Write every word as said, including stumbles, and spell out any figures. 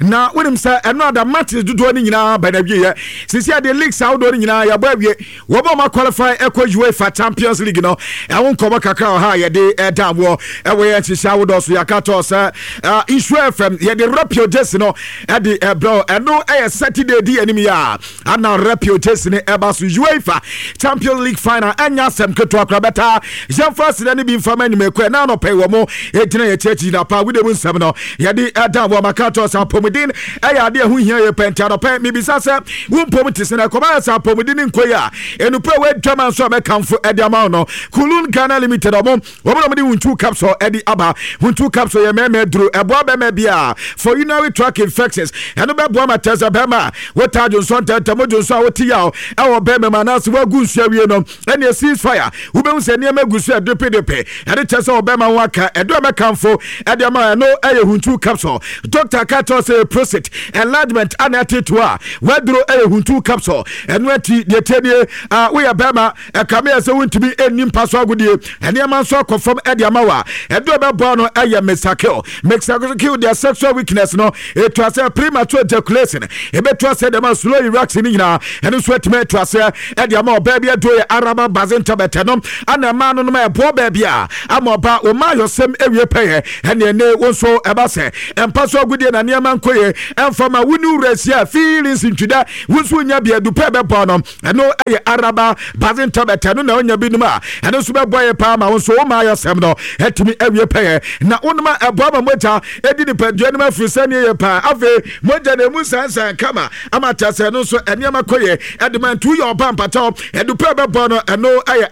Na wonim sɛ ɛno ada matches dodoɔ no nyinaa bɛn awieɛ. Sisi adeɛ, leagues ahodoɔ no nyinaa yɛbɔ awie. Wɔn a wɔn qualify ɛkɔ UEFA Champions League no, ɛho nkɔmɔ kakra wɔ ha a yɛde ɛda wɔ ɛwɔ yɛn nhyehyɛ ahodoɔ so. Yɛaka tɔ sɛ Nsuo F M yɛde Rapio jersey no ɛde ɛbrɛ. Ɛno ɛyɛ Saturday di anim yi a ana Rapio jersey no ɛba so. UEFA Champions League final ɛnya asɛm ketewa kora bɛta. Yɛmfa aseda no bi mfa ma animekɔ ɛna anɔpɛ wɔ mo ɛgyina yɛkyerɛkyi gyina pa wode mu nsɛm no yɛde ɛda wɔ. Maka tɔ sɛ apɔmuden ɛyɛ adeɛ ɛho hia yɛ pɛ, nti anɔpɛ mebisa sɛ wo mpom te sɛ na ɛkɔma yɛ sɛ apɔmuden ne nkɔ yi a ɛnupɛ wɔadwama nso a mɛkamfo ɛde ama wo no, Kulun Ghana Limited. Ɔmo wɔn na wɔde Huntu capsule ɛde aba. Huntu capsule yɛ mɛɛmɛ duro, ɛboa bɛrima bi a for urinary tract infections. Ɛno bɛboa ma tɛ sɛ bɛrima wotaa dwonsɔ ntɛntɛm, dwonsɔ a wote yaw ɛwɔ bɛrima mu anaasɛ woagu nsuo awie no, ɛne cease fire, wobɛhu sɛ nneɛma gu so ɛdepedepe, ɛde kyɛ sɛ ɔbɛrima ho aka. Ɛdo a mɛkamfo ɛde ama ɛno ɛyɛ Huntu capsule. Doctor ka kyerɛ sɛ prostate enlargement ana ɛtete a waduro ɛyɛ Huntu capsule. Ɛno akyi deɛ tie nie, woyɛ bɛrima ɛkame yɛ sɛ wontumi ɛnni mpa so agodie, ɛnneɛma nso akɔ fam ɛde ama wa, ɛdo a ɛbɛboa no ɛyɛ Mesakil. Mesakil deɛ, sexual weakness no ɛtu asɛ, premature ejaculation ɛbɛtu asɛ, dɛm slow erection no nyinaa ɛno nso atumi atu asɛ ɛde ama ɔbaa bi. Aduro yɛ araba bazin tablet no ana ɛmaa no nom ɛboɔ baabi a ama ɔba wɔma ayɔsɛm awie pɛyɛ. Ɛne ɛne wo nso ɛba sɛ ɛmpa so agodie na nneɛma nkɔ yɛ ɛmfa ma wo ne wura si a feelings ntwida, wo nso wonya bi adupɛ bɛbɔ no, ɛno ɛyɛ araba bazin tablet. Ɛno na wonya binom a ɛno nso bɛbɔ yɛ paa ma wo nso woma ayɔsɛm no ɛtumi awie pɛyɛ. Na wonom a ɛboa ma mogya ɛdi nipadua no mu afiri sɛneɛ yɛ paa. Afei mogya na ɛmu nsansan kama ama kyɛ sɛ ɛno nso ɛnneɛma kɔ yɛ ɛde ma. Nti woyɛ ɔba mpataw, ɛdupɛ bɛbɔ no, ɛno ɛyɛ